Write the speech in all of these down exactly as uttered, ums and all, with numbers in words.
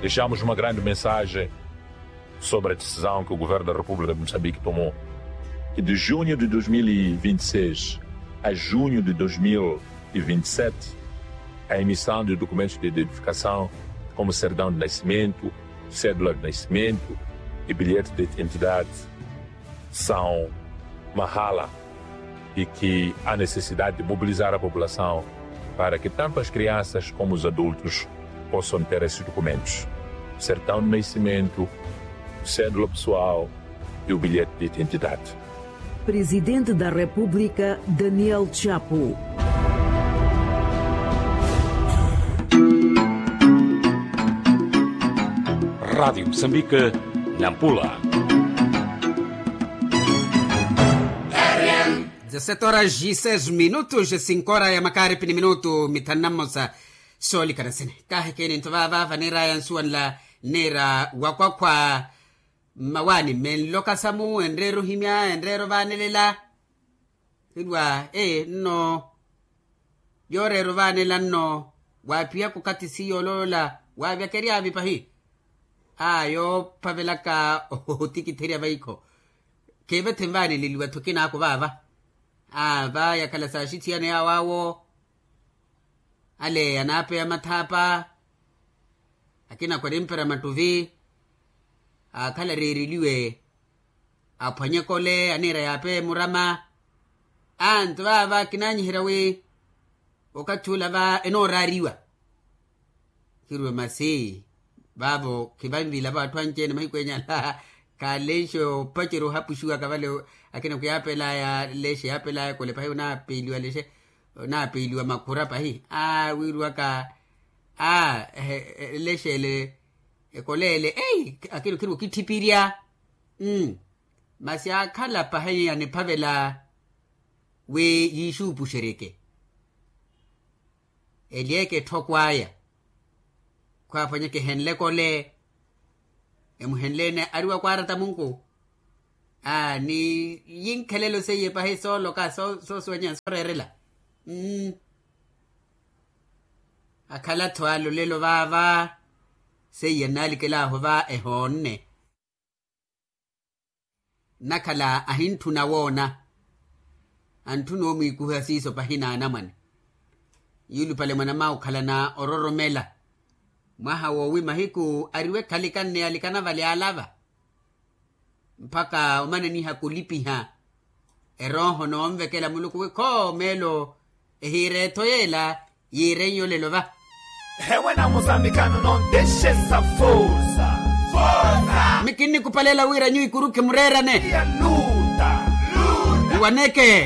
Deixamos uma grande mensagem sobre a decisão que o governo da república de moçambique tomou, que de junho de dois mil e vinte e seis a junho de dois mil e vinte e sete, a emissão de documentos de identificação como certidão de nascimento, cédula de nascimento e bilhete de identidade são mahala e que há necessidade de mobilizar a população para que tanto as crianças como os adultos possam ter esses documentos: certidão de nascimento, cédula pessoal e o bilhete de identidade. Presidente da República, Daniel Chapo. Rádio Moçambique, Nampula. Dezessete horas e seis minutos, cinco horas ya makaripi ni minutu mithanu na mmosa. Soolikana sini kaahikeni nto vaava vaniiraya nsuwanla, nniira wakwakhwa mmawaani mmenloka samu enreera ohimya enreera ovaanelela. Hirwa ee nno yooreera ovaanela nno. Waaphiyaka okathi siyo oloola waavyakeryaavi pahi. Aa yoophavelaka otikitherya vaikho khiivethe nvaaneleliwa-tho kinaako vaava. Aa vaayakhala saaxithiyana yaawo awo ale anaapeya mathaapa. Akina kwarimpera mattuvi aakhala areereliwe aphwanye ekole aniira yaapeya emurama. Antu vaava kinaanyiherya wi okathi ula va enooraariwa. Khirwe masi vaavo khivanvilavo atthu anci-ene mahiku enyala. Khalexe opacerya ohapuxiwaka vale. Akina khwiyaapelaya lexe yaapelaya ekole pahi onaapeliwa lexe onaapeliwa makhura pahi aa wiiriwaka aa lexe ele ekole ele ei akina okhirwa okitthipirya. Masi aakhala pahi aniphavela wi yiixuupuxeryeke elyeke etthoko aya. Khwaaphwanyeke ehenle ekole emuhenle-ene ariwa kwaarata munku. Aa ni yinkhelelo seiye pahi sooloka soosuwanya sooreerela. Akhala-tho alolelo vaava seiye nnaalikelahu va ehoonne. Nnakhala ahintthuna woona antthuna omwiikuha siiso pahi n'anamwane. Yuulupale mwanam'awe okhalana ororomela mwaha woowi mahiku ariwe khalikanne alikana vale alava mpakha omananihaka olipiha erooho n'onvekela muluku wi khoomeelo ehiira etho yeela yiireiye olelo va. Ewe na musambikano nontexesa forsa. Forsa mi kinnikupaleela wira nyuwo ikuru khimureerane. Luta luta iwaneke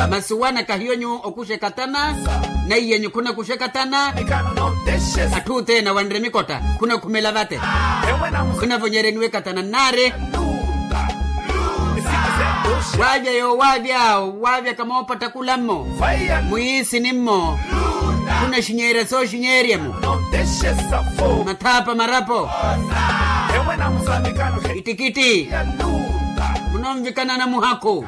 masi wanaka hiyo nyuwo okuxa ekatana. Naiyanyu khunakuxa ekatana. Atthu othene awanre mikotta khunakhumela vate. Khunavonyereniwa ekatana nnaari. Waavya yoowaavya waavya kamoopatta kula-mmo mwiisini-mmo. Khunaxinyeerya sooxinyeerya-mo mathaapa marapo. Ittikitti munonvikanana muhakhu.